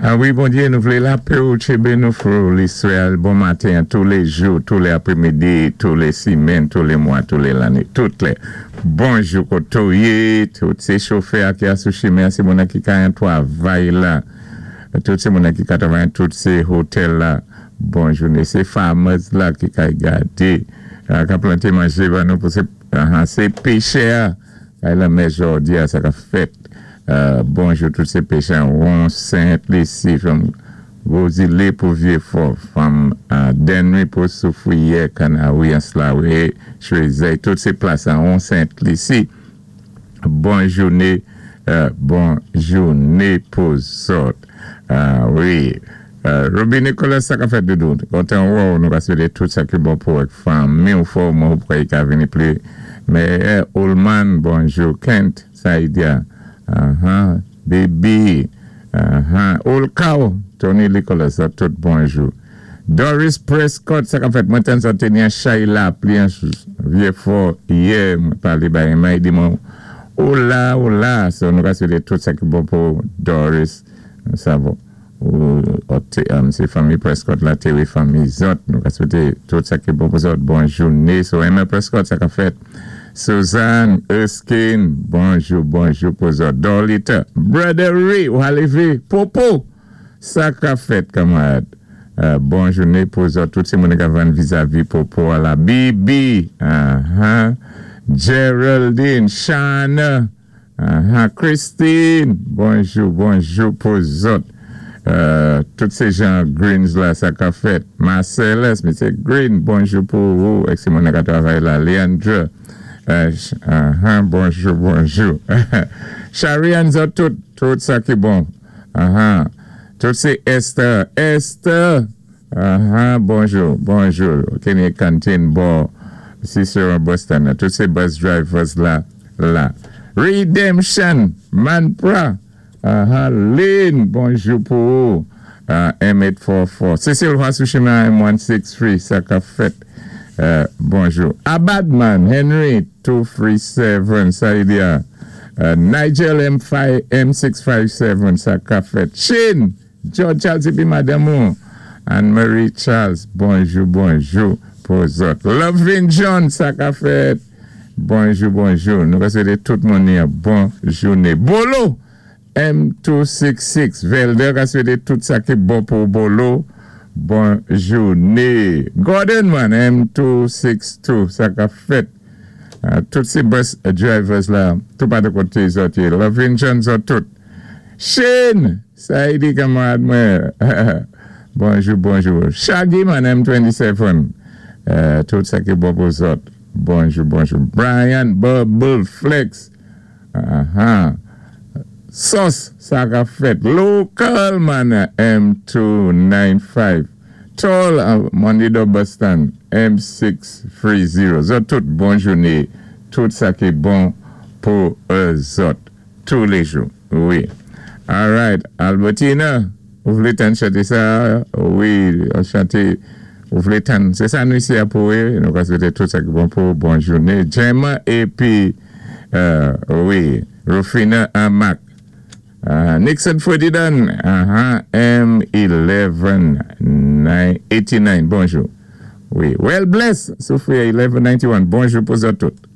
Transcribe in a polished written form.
Ah wi, Bondyé, nou vlé lapè ou tchébé nou fou Lizwayèl bon maten, tou lé jou, tou lé apwémidi, tou lé simenn, tou lé mwa, tou lé lanné, tout lè. Bonjou koté ou yé, tout sé chofè ki a sou chimen, sé moun ki ka an twavay la, tout sé moun ki ka twavay, tout sé otèl la. Bon jouné, sé farmers la ki kay gadé, ka planté manjé ban nou pou sé, sé péchè kay lanmè jòdi a sa ka fèt. Bonjou tout sé péchè Won Sent Lisi from Gwo Zilé pou Vyé Fò, from Dennery pou Soufriyè, Kanawi, Anse La Raye, Chwézèy, tout sé plas an Won Sent Lisi. Bon jouné, bon jouné pou zòt. Wi. Ruby Nicholas, sa ka fèt doudou. Kontan wè ou, nou ka swété tout sa ki bon pou ak fanmi ou fò mwen ou pou ka vini pli. Mais Ullman, bonjou. Kent, Saïdia, Baby, Olkao, Tony Nicholas, tout bonjou. Doris Prescott, sa ka fèt, mwen tann sa teni an chay lapli an Vyé Fò yè, mwen palé bay mwen di mwen ou la, ou la, so nou ka swété tout sa ki bon pou Doris, sa bon. Ou sé fanmi Prescott la, té fanmi zòt, nou ka swété tout sa ki bon pou zòt, bon jouné, so Emma Prescott, sa ka fèt. Suzanne Erskine, bonjou, bonjou pou zòt. Dorlita, Brother Ray, ou alévé, Popo, sa ka fèt, kanmarad. Bon jouné pou zòt, tout sé moun ka vann vizavi Popo a la Bibi, Geraldine, Shana, Christine, bonjou, bonjou pou zòt. Tout sé jan Greens la, sa ka fèt. Marcellus, M. Green, bonjou pou ou, ek sé moun ka twavay la. Leandra, bonjou, bonjou. Sharian zòt tout, tout sa ki bon. Tout sé Esther, Esther, bonjou, bonjou. Kenny Canteen, bon, Cicero Boston, tout sé bus drivers la, la. Redemption, Manpra, Lynn, bonjou pou ou. M844. Cecil Roy M163, sa ka fèt. Bonjou. Abadman, Henry, 237, sa y di a. Nigel M5, M657, sa ka fèt. Shane, George Charles épi madanm ou. Anne-Marie Charles, bonjou, bonjou pou zòt. Lovin John, sa ka fèt. Bonjou, bonjou. Nou ka swété tout moun yon bon jouné. Bolo, M266. Velder ka swété tout sa ki bon pou Bolo. Bon jouné. Gordon man, M262. Sa ka fèt. Tout sé bus drivers la, tout pa de koté zòt yé. Lovin John zòt tout. Shane, sa y di kanmarad mwen. Bonjou, bonjou. Shaggy man, M27. Tout sa ki bon pou zòt. Bonjou, bonjou. Brian Bubble Flex. Sos, sa ka fèt. Local man, M295. Tall, Mondido Bus Stand, M630. Zòt tout bon jouné. Tout sa ki bon pou zòt. Tou lé jou. Wi. All right. Albertina, ou vlé tann chanté sa? Wi, chanté. Ou vlé tann. Sé sa nou isi a pou wé. Nou ka swété tout sa ki bon pou bon jouné. Gemma épi, wi, Rufina Amac. Nixon Ferdinand, M11 89. Bonjou. Wi. Well bless, Sophia 1191. Bonjou pou zòt tout.